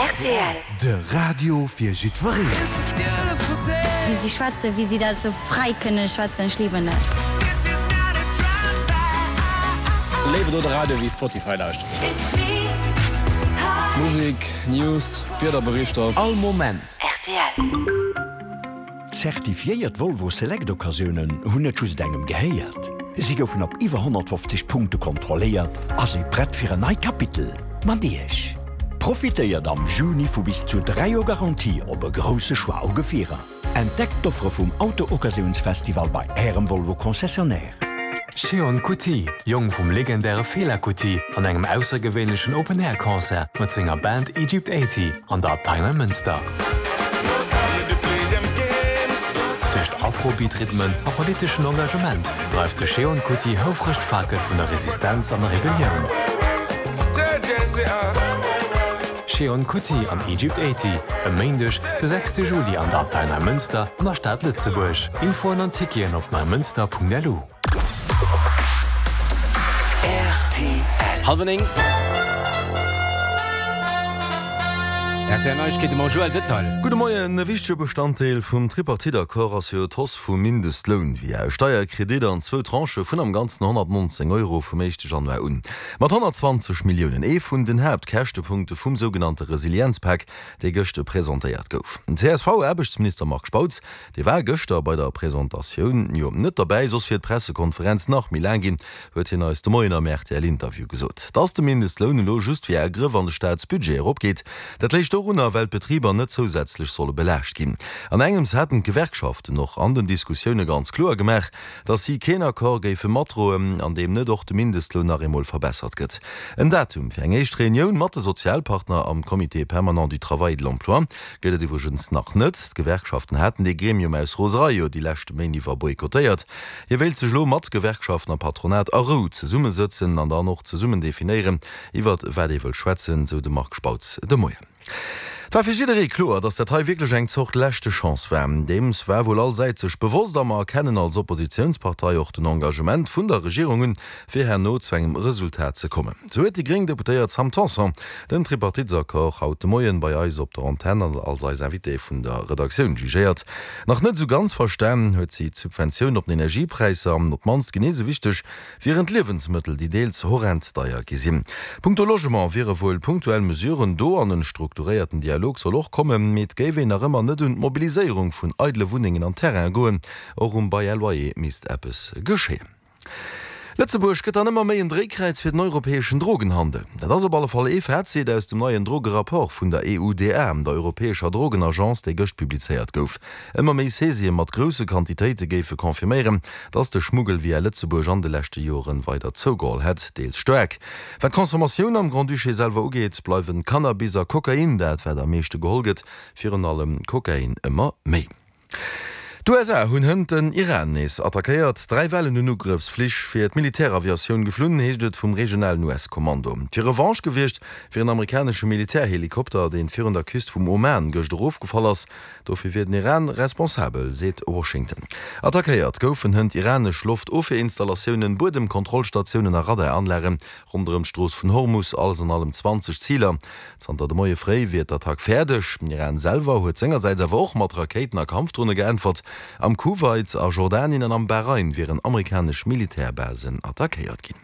Rtl. De Radio fir jiddwereen. Wéi si schwätzen, wéi si dat esou fräi kënne schwätzen, ech liben dat. Léiwer do de Radio wéi Spotify lauschteren. Musek, News, Wiederberichter. All Moment. Rtl. Zertifiéiert Volvo Select Occasiounen hunn net just engem gehéiert, si goufen op iwwer 150 Punkte kontrolléiert a si prett fir en neit Kapitel mat Iech. Profitéiert am Juni vu bis zu 3 Joer Garantie op e grousse Choix u Gefierer. Entdeckt d'Offere vum Auto-Occasiounsfestival bei Ärem Volvo Concessionnaire. Seun Kuti, Jong vum legendäre Fela Kuti, an engem aussergewéinlechen Open-Air-Concert mat senger Band Egypt 80 an der Abtei Neimënster. Tëscht Afrobeat-Rhythmen a politeschen Engagement dreift de Seun Kuti houfreg d'Fakel vun der Resistenz an der Rebellioun. Seun Kuti an Egypt 80, e Méindeg, de 6 Juli an der Abtei Neimënster an der Stad Lëtzebuerg. Infoen an Ticketen op neimënster.lu. Rtl. Halwer 9. Rtl Neiegkeete mam Joël Detail. Gudde Moien. E wichtege Bestanddeel vum Tripartite-Accord ass jo d'Hausse vum Mindestloun via e Steierkredit an zwou Tranchë vun am Ganzen 119 Euro vum éischte Januar un. Mat 120 Milliounen ee vun den Haaptkäschtepunkte vum sougenannte Resilienzpak, dee gëscht presentéiert gouf. Den CSV-Aarbechtsminister Marc Spautz Dee war gëschter bei der Presentatioun jo net derbäi, soss wier d'Pressekonferenz nach méi laang ginn, huet hien eis de Moien am RTL-Interview gesot. Dass de Mindestloun elo just via e Grëff an de Staatsbudget eropgeet, dat léich dorunner, well d'Betriber net zousätzlech solle belaascht ginn. An engems hätten d'Gewerkschaften och an den Diskussioune ganz kloer gemaach, dass si keen Accord géife matdroen, an deem net och de Mindestloun nach eemol verbessert gëtt. En Datum fir eng éischt Reunioun mat de Sozialpartner am Comité permanent du travail et de l'emploi Gëtt et iwwregens nach net. D'Gewerkschaften haten dee Gremium aus Roserei jo déi leschte Méint iwwer boykottéiert. Hie wéilt sech elo mat Gewerkschaften a Patronat a Rou zesummesëtzen an dann och zesummen definéieren, iwwert wat ee wëll schwätzen, sou de Marc Spautz de Moien. Et war fir jidderee kloer, datt dat hei wierklech eng Zort leschte Chance war. Deems war wuel all Säit sech bewosst a mer erkennen als Oppositiounspartei och den Engagement vun der Regierung un, fir herno zu engem Resultat ze kommen. Sou huet déi gréng Deputéiert Sam Tanson den Tripartitesaccord haut de Moien bei eis op der Antenn an als eis Invitée vun der Redaktioun jugéiert. Nach net esou ganz verstan huet si d'Subventioun op den Energiepräisser an op d'mannst genee esou wichteg wieren d'Liewensmëttel, déi deels horrend deier gi sinn. Punkto Logement wiere wuel punktuell Mesuren do an en strukturéierten Dialog soll och kommen, mee et géif een nach ëmmer net un d'Mobiliséierung vun eidele Wunnengen an Terraine goen. Och um Bail à loyer misst eppes geschéien. Lëtzebuerg gëtt dann ëmmer méi en Dréikräiz fir den europäeschen Drogenhandel. Dat ass op alle Fall ee Fazit aus dem neien Drogerapport vun der EUDA, der europäescher Drogenagence, dee gëscht publizéiert gouf. Ëmmer méi Saisië mat grousse Quantitéite géife confirméieren, datt de Schmuggel via Lëtzebuerg an de leschte Joren weider zougeholl hätt, deels staark. Wat d'Consommatioun am Grand-Duché selwer ugeet, bleiwen Cannabis a Kokain dat, wat am meeschte geholl gëtt, virun allem Kokain ëmmer méi. D'USA hunn hënt den Iran nees attackéiert. 3 Wellen un Ugrëffsflich fir d'Militäraviatioun geflunn, heescht et vum regionalen US-Kommando. Fir Revanche gewiescht wier en amerikanesche Militärhelikopter, deen virun der Küst vum Oman gëscht erofgefall ass. Dofir wier den Iran responsabel, seet Washington. Attackéiert goufen hënt iranesch Loftofwierinstallatiounen, Buedemkontrollstatiounen a Radaranlage ronderëm d'Strooss vun Hormus. Alles an allem 20 Ziler. Zanter de Moie fréi wier d'Attack fäerdeg. Den Iran selwer huet sengersäits awer och mat Rakéiten a Kampfdrone geäntwert. Am Kuwait, a Jordanien an am Bahrain wieren amerikanesch Militärbasen attackéiert ginn.